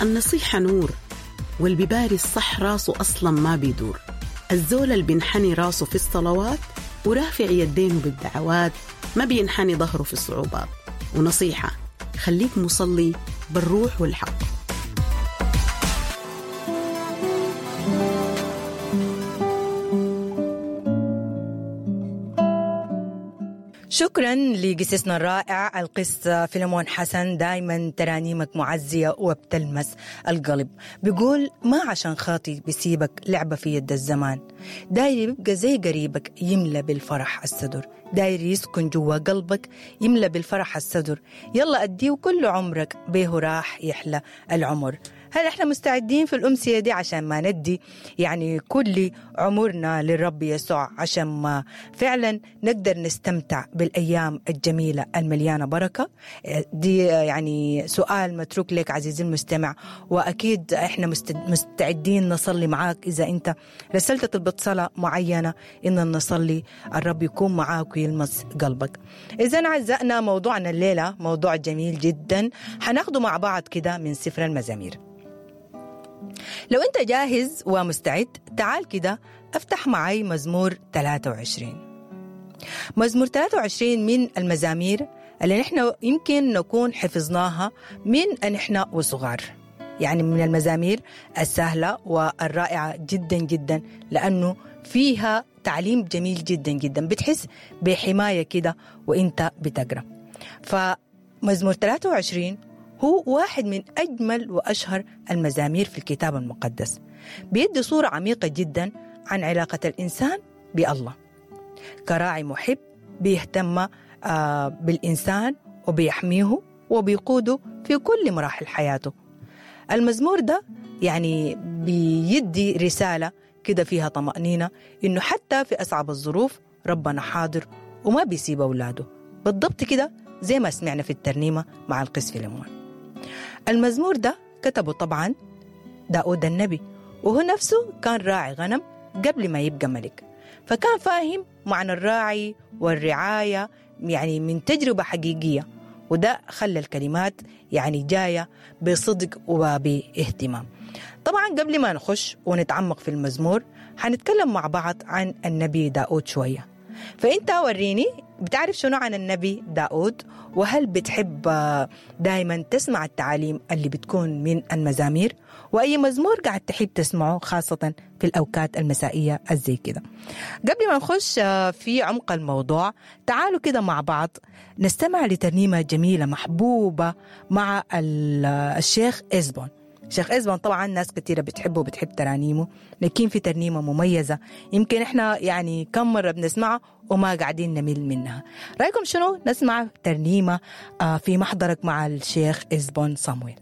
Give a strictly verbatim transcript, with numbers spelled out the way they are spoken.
النصيحة نور، والبباري الصح راسه أصلا ما بيدور. الزول اللي بينحني راسه في الصلوات ورافع يدينه بالدعوات ما بينحني ظهره في الصعوبات. ونصيحة، خليك مصلي بالروح والحق. شكرا لقسسنا الرائع القس فيلمون حسن، دايما ترانيمك معزية وبتلمس القلب. بيقول ما عشان خاطي بسيبك لعبة في يد الزمان، داير يبقى زي قريبك يملى بالفرح الصدر، داير يسكن جوا قلبك يملى بالفرح الصدر، يلا أديه كل عمرك بيه راح يحلى العمر. هل احنا مستعدين في الأمسية دي عشان ما ندي يعني كل عمرنا للرب يسوع، عشان ما فعلا نقدر نستمتع بالأيام الجميلة المليانة بركة؟ دي يعني سؤال متروك لك عزيزي المستمع، وأكيد احنا مستعدين نصلي معاك إذا أنت رسلت طلبة صلاة معينة إن نصلي الرب يكون معاك ويلمس قلبك. إذا أعزائنا موضوعنا الليلة موضوع جميل جدا حناخده مع بعض كده من سفر المزامير. لو أنت جاهز ومستعد تعال كده افتح معي مزمور ثلاثة وعشرين. مزمور ثلاثة وعشرين من المزامير اللي نحن يمكن نكون حفظناها من أن نحن وصغار، يعني من المزامير السهلة والرائعة جدا جدا، لأنه فيها تعليم جميل جدا جدا، بتحس بحماية كده وإنت بتقرأ. فمزمور ثلاثة وعشرين هو واحد من أجمل وأشهر المزامير في الكتاب المقدس، بيدي صورة عميقة جدا عن علاقة الإنسان بالله كراعي محب بيهتم بالإنسان وبيحميه وبيقوده في كل مراحل حياته. المزمور ده يعني بيدي رسالة كده فيها طمأنينة إنه حتى في أصعب الظروف ربنا حاضر وما بيسيب أولاده، بالضبط كده زي ما سمعنا في الترنيمة مع القس فيلمون. المزمور ده كتبه طبعا داود النبي، وهو نفسه كان راعي غنم قبل ما يبقى ملك، فكان فاهم معنى الراعي والرعاية يعني من تجربة حقيقية، وده خلى الكلمات يعني جاية بصدق وباهتمام. طبعا قبل ما نخش ونتعمق في المزمور هنتكلم مع بعض عن النبي داود شوية. فأنت وريني بتعرف شنو عن النبي داود، وهل بتحب دايما تسمع التعاليم اللي بتكون من المزامير، وأي مزمور قاعد تحب تسمعه خاصة في الأوقات المسائية الزي كده. قبل ما نخش في عمق الموضوع تعالوا كده مع بعض نستمع لترنيمة جميلة محبوبة مع الشيخ إزبون. شيخ إزبون طبعا ناس كثيرة بتحبه وبتحب ترانيمه، لكن في ترنيمة مميزة يمكن احنا يعني كم مرة بنسمعها وما قاعدين نمل منها. رأيكم شنو نسمع ترنيمة في محضرك مع الشيخ إزبون صامويل؟